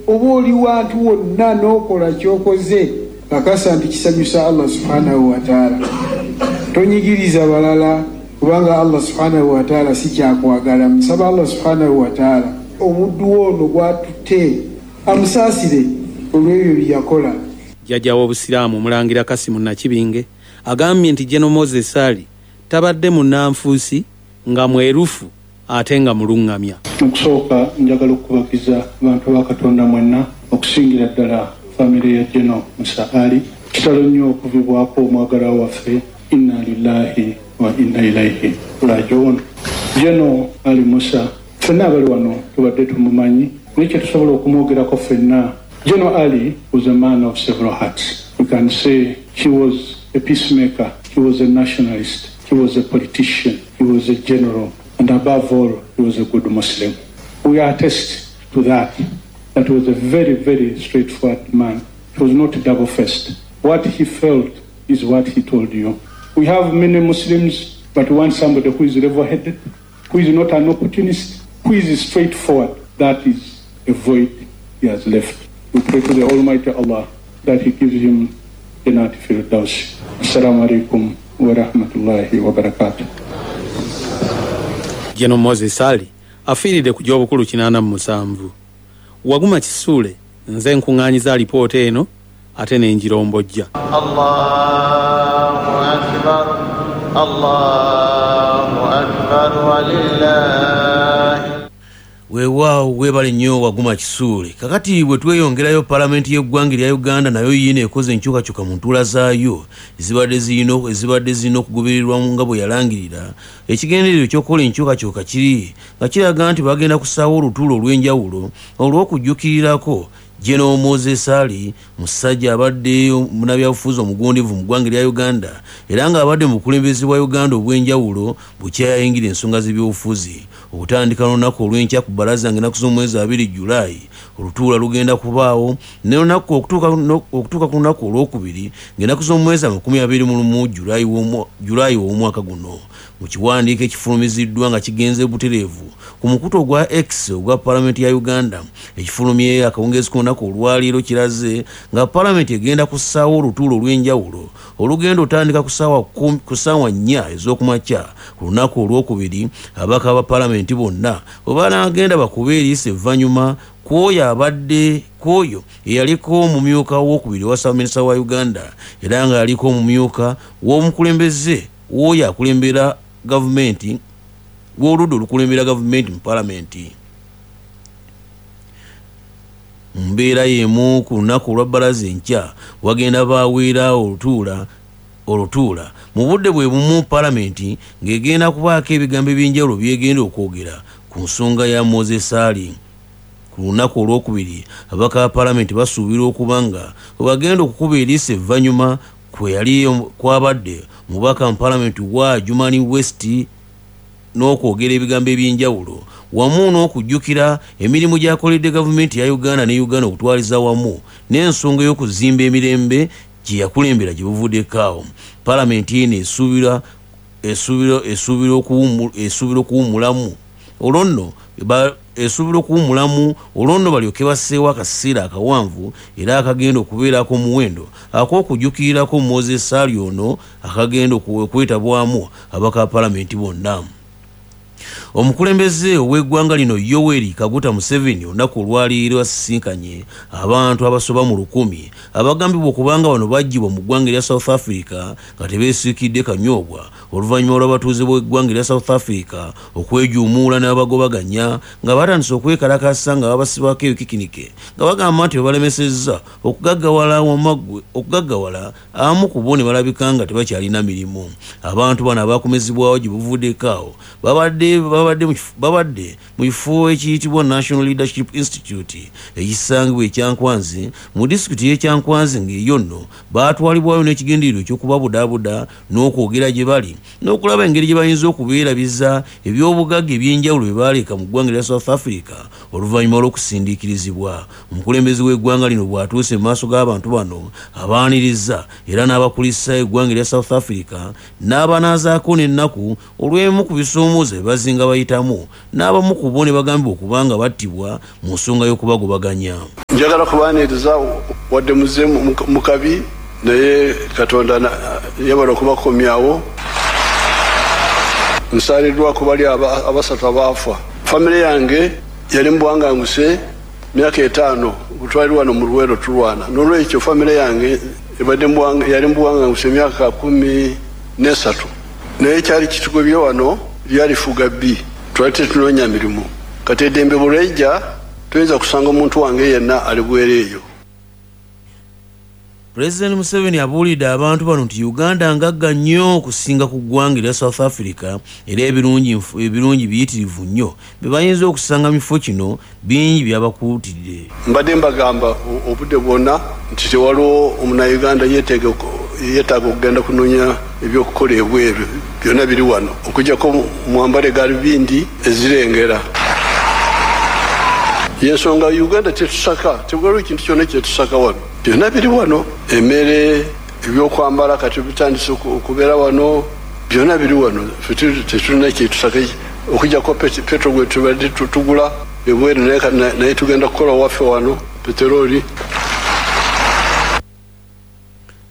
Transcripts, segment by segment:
Oba oli wantu wonna n'okola ky'okoze, kakasa nti kisanyusa Allah subhanahu wataala. Tonyigiriza balala, kubanga Allah subhanahu wataala si kyakwagala. Musaba Allah subhanahu wataala omuddu wo ono gwatutte amusaasire olw'ebyo bye yakola. Jjajja w'Obusiraamu Omulangira Kassim Nakibinge agambye nti General Moses Ali tabadde munnanfuusi, nga mwerufu ate nga mulungamya. Mu kusooka njagala okukubagiza abantu ba Katonda mwenna, okusingira ddala famire ya General Musa Ali. Kitalo nnyo okuvibwako omwagalwa waffe. Inna lillahi wa inna ilaihi rajiun. General Ali Musa ffenna abali wano tubadde tumumanyi, naye kye tusobola okumwogerako ffenna, General Ali was a man of several hearts. We can say he was a peacemaker, he was a nationalist, he was a politician, he was a general, and above all, he was a good Muslim. We attest to that. That was a very, very straightforward man. He was not double-faced. What he felt is what he told you. We have many Muslims, but we want somebody who is level-headed, who is not an opportunist, who is straightforward. That is a void he has left. We pray to the Almighty Allah that He gives him Jannat Firdaus. Assalamu alaikum wa rahmatullahi wa barakatuh. General Moses Ali afiiridde ku gy'obukulu 87. Waguma Kisuule nze nkuŋŋaanyiza alipoota eno ate ne ngirombojja. Allahu akbar, Allahu akbar, walillahi. Weewaawo, weebale nnyo Waguma Kisuule. Kakati bwe tweyongerayo, palamenti y'eggwanga erya Uganda nayo yiino ekoze enkyukakyuka mu ntuula zaayo ezibadde zirina okugobererwa nga bwe yalangirira. Ekigendererwa ekyokukola enkyukakyuka kiri nga kiraga nti bagenda kusaawo olutuula olw'enjawulo olw'okujjukirirako General Moses Ali, musajja abadde munnabyabufuzi omugundivu mu ggwanga erya Uganda era ng'abadde mu bukulembeze bwa Uganda obw'enjawulo bukyayingira ensonga z'ebyobufuzi. Okutandika n'olunaku olw'enkya ku bbalaza ng'ennaku z'omwezi 2 Julayi, olutuula lugenda kubaawo n'olunaku okutuuka ku lunaku olwokubiri ng'ennaku z'omwezi 21 Julayi w'omwaka guno. Mu kiwandiiko ekifulumiziddwa nga kigenze butereevu ku mukutu ogwa X ogwa palamenti ya Uganda ekifulumye akawungeezi k'olunaku olwaleero, kiraze nga palamenti egenda kussaawo olutuula olw'enjawulo olugenda otandika ku ssaawa 4 ez'okumakya ku lunaku olwokubiri. Ababaka ba palamenti bonna bwe banaagenda bakube eriiso evvannyuma kw'oyo abadde kw'oyo eyaliko omumyuka w'okubiri owa ssaabaminisita wa Uganda era nga yaliko omumyuka w'omukulembeze w'oyo akulembera gavumenti w'oludda olukulembera gavumenti mu palamenti. Mu mbeera y'emu, ku lunaku olwa bbalaza enkya wagenda baweera olutuula mu budde bwe bumu, palamenti ng'egenda kubaako ebigambo eby'enjawulo byegenda okwogera ku nsonga ya Moses Ali. Ku lunaku olwokubiri ababaka ba palamenti basuubirwa okuba nga bwe bagenda okukuba eriiso evvannyuma kwe yali kwabadde omubaka mu palamenti wa Adjumani West n'okwogera ebigambo eby'enjawulo wamu n'okujjukira emirimu gy'akoledde gavumenti ya Uganda ne Uganda okutwaliza wamu n'ensonga ey'okuzimba emirembe gye yakulembera gye buvuddeko awo. Palamenti eno esuubira okuwummulamu olwo nno balyoke basseewo akaseera akawanvu era akagenda okubeerako omuwendo ak'okujjukirirako Moses Ali ono akagenda okwetabwamu ababaka ba palamenti bonna. Omukulembeze ow'eggwanga lino Yoweri Kaguta Museveni olunaku olwaleero asisinkanye abantu abasoba mu 1000 abagambibwa okubanga bano baggyibwa mu ggwanga erya South Africa nga tebeesiikidde kanyoobwa oluvannyuma lw'abatuuze b'eggwanga erya South Africa okwejuumuula n'abagobaganya nga batandise okwekalakasa nga babasibako ebikikinike nga bagamba nti babalemesezza okugaggawala abamu ku bo ne balabika nga tebakyalina mirimu. Abantu bano abakomezebwawo gye buvuddeko awo babadde mu kifo ekiyitibwa National Leadership Institute ekisangibwa e Kyankwanzi mu disitulikiti y'e Kyankwanzi, ng'eyo nno baatwalibwayo n'ekigendererwa eky'okubabudaabuda n'okwogera gye bali n'okulaba engeri gye bayinza okubeerabiza ebyobugagga eby'enjawulo bye baaleka mu ggwanga erya South Africa oluvannyuma lw'okusindiikirizibwa. Omukulembeze w'eggwanga lino bw'atuuse mu maaso g'abantu bano abaaniriza era n'abakulisa eggwanga erya South Africa n'abanaazaako n'ennaku olw'emu ku bisoomooza bye bazinga. nga bayitamu n'abamu ku bo ne bagambibwa okuba nga battibwa mu nsonga y'okubagobaganya. Njagala kubaaniriza wadde muze mu kabi, naye Katonda yabala okubakomyawo. Nsaaliddwa ku bali abasatu abaafa. Famire yange yali mu buwanganguse myaka 5 butwali wano mu Luweero tulwana. N'olwekyo famire yange yali mu buwanganguse myaka 13. Naye kyali kitugobye wano lyali fuga bbi, twali tetunoonya mirimu. Kati eddembe bwe toyinza kusanga omuntu wange yenna ali bwereeyo. Pulezidenti Museveni abuulidde abantu bano nti Uganda ngagga nnyo okusinga ku ggwanga erya South Africa, era ebirungi biyitirivu nnyo bye bayinza okusanga mu kifo kino bingi byabakuutidde. Mbadde mbagamba obudde bwonna nti tewaliwo omunnayuganda yeetaaga okugenda kunoonya ebyokukola ebweru, byonna biri wano okuggyako mwambale gaalubindi ezirengera. Yensonga Uganda tetusaka, tewaliwo kintu kyonna kyetusaka wano. Byonna biri wano, emmere, ebyokwambala kati bitandise okubeera wano, byonna biri wano. Ffe tetulina kyetusaka okuggyako petro gwe tubadde tugula ebweru, naye tugenda kukola waffe wano peteroli.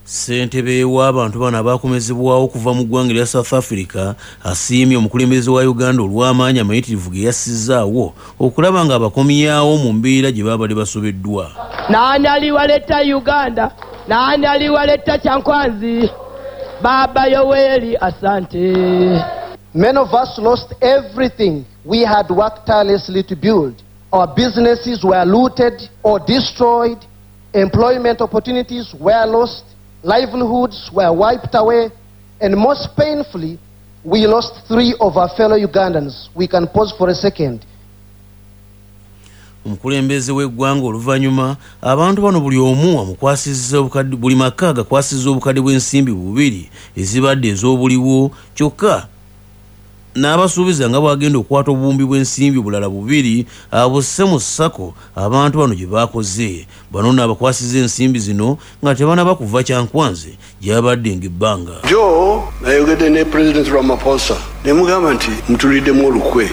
Ssentebe w'abantu bano abakomezebwawo okuva mu ggwanga erya South Africa asiimye omukulembeze wa Uganda olw'amaanyi amayitirivu ge yassizaawo okulaba nga abakomyawo mu mbeera gye babadde basobeddwa. Nani aliwaleta Uganda? Nani aliwaleta Kyankwanzi? Baba Yoweri, asante. Many of us lost everything we had worked tirelessly to build. Our businesses were looted or destroyed. Employment opportunities were lost. Livelihoods were wiped away. And most painfully, we lost 3 of our fellow Ugandans. We can pause for a second. Omukulembeze w'eggwanga oluvannyuma abantu bano buli omu amukwasizza obukadde, buli maka gakwasizza obukadde bw'ensimbi 2 ezibadde ez'obuliwo, kyokka n'abasuubiza nga bw'agenda okukwata obuwumbi bw'ensimbi bulala 2 abusse mu ssako abantu bano gye baakoze. Bano nno abakwasizza ensimbi zino nga tebanaba kuva Kyankwanzi gy'abadde ng'ebbanga. Jo nayogedde ne President Ramaphosa ne mugamba nti mutuliddemu olukwe,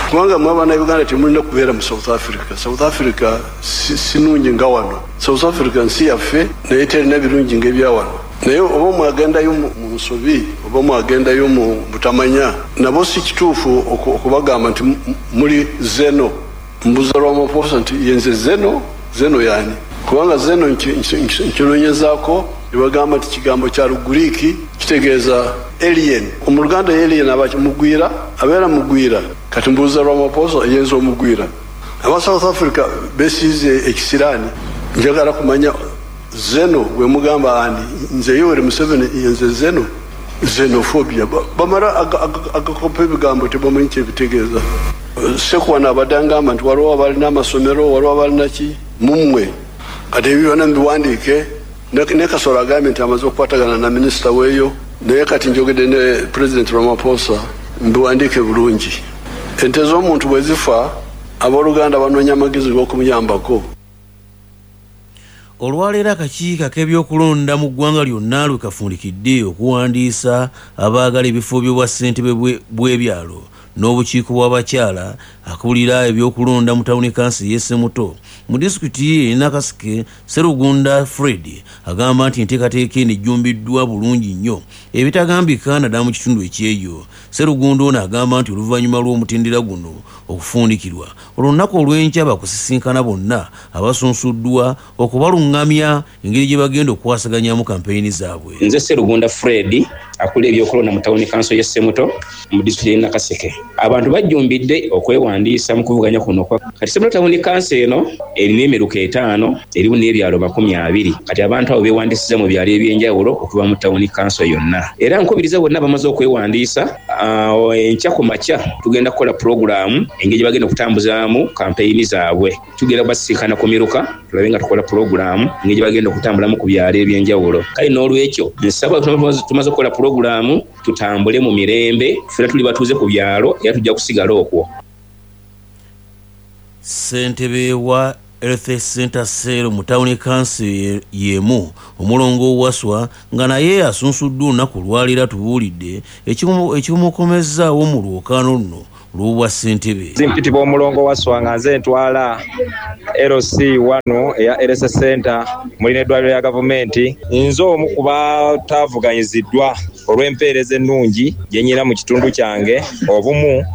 kubanga mwe Abannayuganda temulina kubeera mu South Africa. South Africa si nnungi nga wano. South Africa nsi yaffe naye terina birungi ng'ebya wano. Naye oba mwagendayo mu nsobi oba mwagendayo mu butamanya, nabo si kituufu okubagamba nti muli zeno. Mbuuza Ramaphosa nti yenze zeno, zeno yani? Kubanga zeno nkinoonyezaako ne bagamba nti kigambo kya Luguriiki kitegeeza alien. Mu Luganda alien aba mugwira, abeera mugwira. Kati mbuuza Ramaphosa yenze omugwira. Aba South Africa besiize ekisiraani. Njagala kumanya zeno bwe mugamba ani? Nze Yoweri Museveni yenze zeno. Xenophobia. Bamala agakopa ebigambo tebamanyi kyebitegeeza. Sekwana abadde angamba nti waliwo abalina amasomero, waliwo abalina ki mummwe. Kati ebyo byonna mbiwandiike. Ne Kasolo agambye nti amaze okukwatagana na minisita weeyo, naye kati njogedde ne President Ramaphosa mbiwandiike bulungi. Ente z'omuntu bwe zifa, abooluganda banoonya amagezi g'okumuyambako. Olwaleero akakiiko ak'ebyokulonda mu ggwanga lyonna lwe kafundikidde okuwandiisa abaagala ebifo by'obwassentebe bw'ebyalo n'obukiiko bw'abakyala akulira ebyokulonda mu tawuni kansi y'e Ssemuto mu disitulikiti y'e Nakaseke. Sserugunda Fred agamba nti enteekateeka eno ejjumbiddwa bulungi nnyo ebitagambika naddala mu kitundu ekyeyo. Sserugunda ono agamba nti oluvannyuma lw'omutendera guno okufundikirwa, olunaku olw'enkya bakusisinkana bonna abasunsuddwa okubaluŋŋamya engeri gye bagenda okukwasaganyamu kampeyini zaabwe. Nze Sserugunda Fred akulira ebyokulonda mu tawuni kanso y'e Ssemuto mu disitulikiti y'e Nakaseke. Abantu bajjumbidde okwewandiisa mu kuvuganya kuno. Kati Ssemuto tawuni kanso eno erina emiruka 5, erimu n'ebyalo 20. Kati abantu abo beewandiisiza mu byalo eby'enjawulo okuva mu tawuni kanso yonna. Era nkubiriza bonna bamaze okwewandiisa, enkya ku makya tugenda kukola pulogulaamu engeri gye bagenda okutambuzaamu kampeyini zaabwe. Tugenda kubasisinkana ku miruka tulabe nga tukola pulogulaamu engeri gye bagenda okutambulamu ku byalo eby'enjawulo. Kale n'olwekyo nsaba tumaze okukola pulogulaamu tutambule mu mirembe, ffenna tuli batuuze ku byalo era tujja kusigala okwo. Ssentebe wa Health Center Cell mu tawuni kanso y'emu, Omulongo Waswa nga naye asunsuddwa olunaku olwaleero atubuulidde ekimukomezzaawo mu lwokaano luno olw'obwa ssentebe. Mpitibwa Omulongo Waswa nga nze ntwala LC 1 eya Health Center muli n'eddwaliro lya gavumenti. Nze omu ku bataavuganyiziddwa olw'empeereza ennungi gye nnyina mu kitundu kyange. Obumu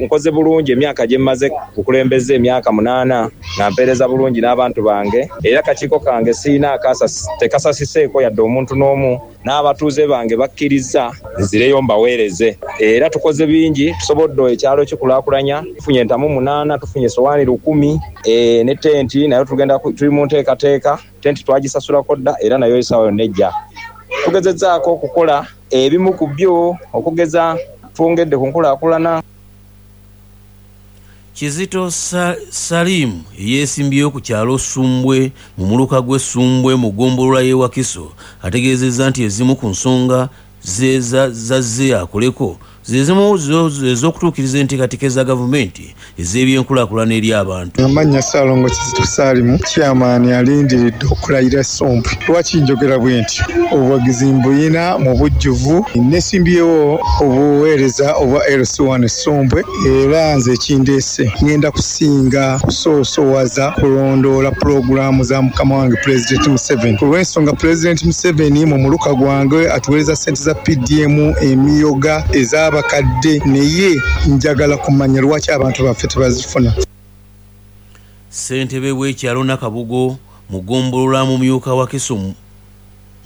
nkoze bulungi emyaka gye mmaze kukulembeza, emyaka 8 nga mpeereza bulungi n'abantu bange, era akakiiko kange sirina tekasasiseeko yadde omuntu n'omu, n'abatuuze bange bakkiriza nzireyo mbaweereze. Era tukoze bingi, tusobodde ekyalo kikulaakulanya, tufunye entamu 8, tufunye sowaani 1000 ne tenti nayo tugenda tuli mu nteekateeka. Tenti twagisasulako dda era nayo essaawa yonna ejja. Tugezezzaako okukola ebimu ku byo, okugeza twongedde ku nkulaakulana. Kizito Salim eyeesimbyewo ku kyalo Ssumbwe mu muluka gw'e Ssumbwe mu ggombolola y'e Wakiso ategeezezza nti ezimu ku nsonga ze zazze akoleko ze zimu ez'okutuukiriza enteekateeka za gavumenti ez'ebyenkulaakulana eri abantu. Amannya Ssaalongo Kizito Saalimu, chairman alindiridde okulayira Ssumbwe. Lwaki njogera bwe nti? Obuwagizi mbuyina mu bujjuvu. Nesimbyewo obuweereza obwa LC1 Ssumbwe, era nze ekindeese ngenda kusinga kusoosowaza kulondoola pulogulaamu za mukama wange Pulezidenti Museveni. Ku lw'ensonga Pulezidenti Museveni mu muluka gwange atuweereza ssente za PDM, emiyoga ez'abakadde, naye njagala kumanya lwaki abantu baffe tebazifuna. Ssentebe w'ekyalo Nakabugo mu ggombolola mumyuka Wakiso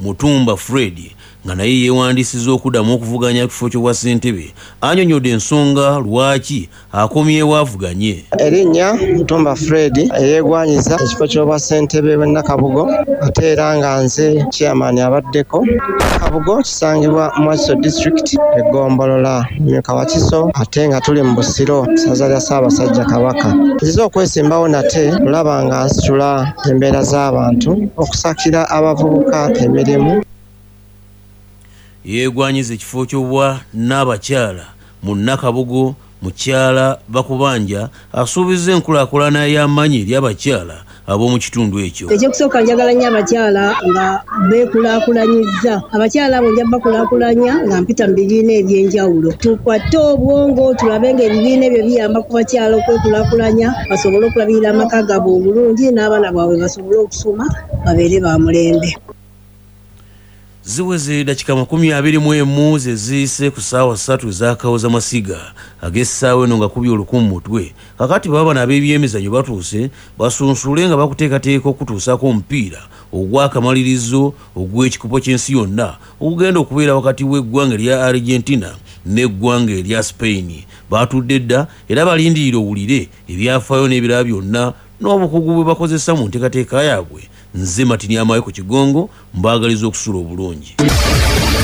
Mutumba Fred nga naye yeewandiisizza okuddamu okuvuganya ekifo ky'obwa ssentebe annyonnyodde ensonga lwaki akomyewo avuganye. Erinnya Mutumba Fred eyeegwanyiza ekifo ky'obwa ssentebe w'e Nakabugo, ate era nga nze chairman abaddeko. Nakabugo kisangibwa mu Wakiso district, eggombolola mumyuka Wakiso, ate nga tuli mu Busiro, ssaza lya Ssaabasajja Kabaka. Nzize okwesimbawo nate olaba nga nsitula embeera z'abantu, okusakira abavubuka emirimu. Yeegwanyiza ekifo ky'obwa n'abakyala mu Nakabugo. Mukyala Bakubanja asuubizza enkulaakulana y'amaanyi eri abakyala ab'omu kitundu ekyo. Ekyokusooka njagala nnyo abakyala nga beekulaakulanyizza. Abakyala abo nja bakulaakulanya nga mpita mu bibiina eby'enjawulo. Tukwate obwongo tulabe ng'ebibiina ebyo biyamba ku bakyala okwekulaakulanya, basobole okulabirira amaka gaabwe obulungi n'abaana baabwe basobole okusoma babeere ba mulembe. Ziweze dakika 21 ze ziyise ku ssaawa 3 ez'akawoza masiga ag'essaawa eno nga kubye olukumu mutwe. Kakati baba bano ab'ebyemizannyo batuuse basunsule nga bakuteekateeka okutuusaako omupiira ogw'akamalirizo ogw'ekikopo ky'ensi yonna ogugenda okubeera wakati w'eggwanga erya Argentina n'eggwanga erya Spain. Baatudde dda era balindirira owulire ebyafaayo n'ebirala byonna n'obukugu bwe bakozesa mu nteekateeka yaabwe. Nze Matini Amayo ku Kigongo, mbaagaliza okusula obulungi.